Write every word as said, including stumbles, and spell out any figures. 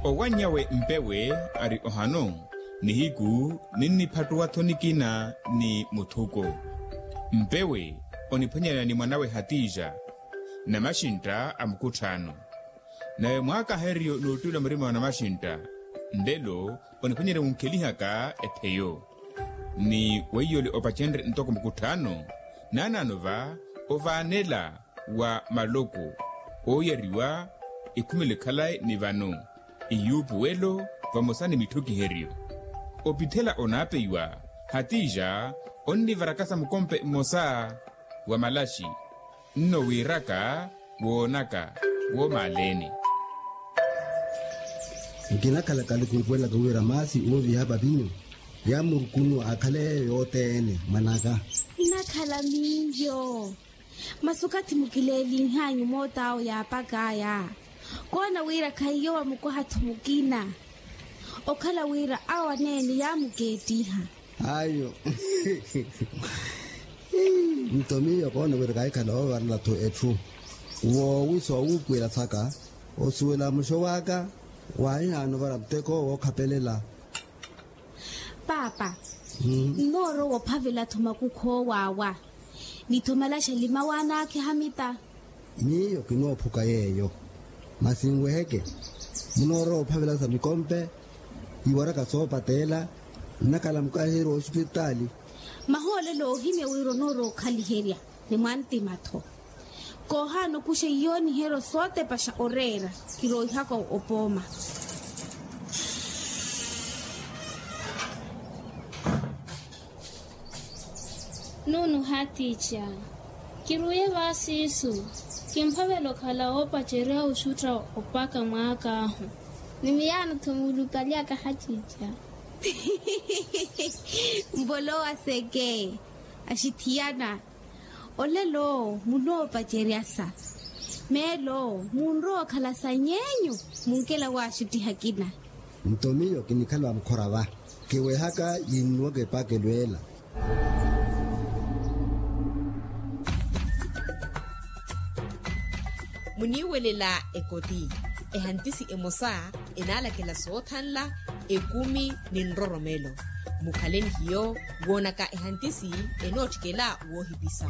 Owanny'awe mpewe ari ohano, nihiku ninniphattuwa-tho nikina ni muthuko. Mpewe oniphwanyana ni mwan'awe hatija, namaxintta a mukutthaano. Nave mwaakahereryo n'uttwila murima wa namaxintta, nlelo oniphwanyerya wunkhelihaka epheyo. Ni weiyole opacenrye ntoko mukutthaano, naanaano va ovaanela wa maloko ooyariwa, ekhumele khalayi ni vano iyuupuwelo vamosa ni mitthukiheryo. Opithela onaapeiwa, hatija onnivarakasa mukompe mmosa wa malaxi, nno wiiraka woonaka woomaaleene. Nkinakhalaka alukuupuwelaka wira maasi ooviha papinyu yaamurukunu akhale yeeyo yothene mwan'aka. Nnakhala miyo. Masi okathi mukileelihanyu moot'awo yaapak'aya, koona wira khahiyo wamukwaha-tho mukina. Okhala wira awo aneene yaamukeettiha. Ayo. Nto miyo koona wira kahikhala oovarela-tho etthu. Woowi soowuupuwela saka osuwela muxo w'aka. Waahihaana ovara muteko wookhapelela. Paapa, nnoorowa ophavela-tho makukhu oowaawa ni-tho malaxa limawaana akhihamita. Miyo kinoophuka yeeyo. Masi nweheke, munoorowa ophavela sa mikompe iwaraka soopateela nnakhala mukahiheryo w'osipitaali. Mahoolelo oohimya wira onoorowa okhaliherya ni mwantima-tho. Koohaana okuxa iyooniheryo sootepaxa oreera. Kirooihaka opooma. Nunu hatiica, kiruuye vaasiisu. Kimphavela okhala woopacerya oxutta opaka mwaak'ahu. Ni miyaano-tho muulukaly'aka hatiica. Mbolowa seke. Axithiyana. Olelo munoopaceryasa. Meelo munrowa okhala sany'enyu. Munkela waaxuttiha akina. Nto miyo kinikhala va mukhora va. Kiwehaka yinnuwaka epaakelo ela. Muniiwelela ekoti. Ehantisi emosa enaalakela soothanla ekumi ni nroromelo. Mukhale ni hiyo woonaka ehantisi enootthikela woohipisa.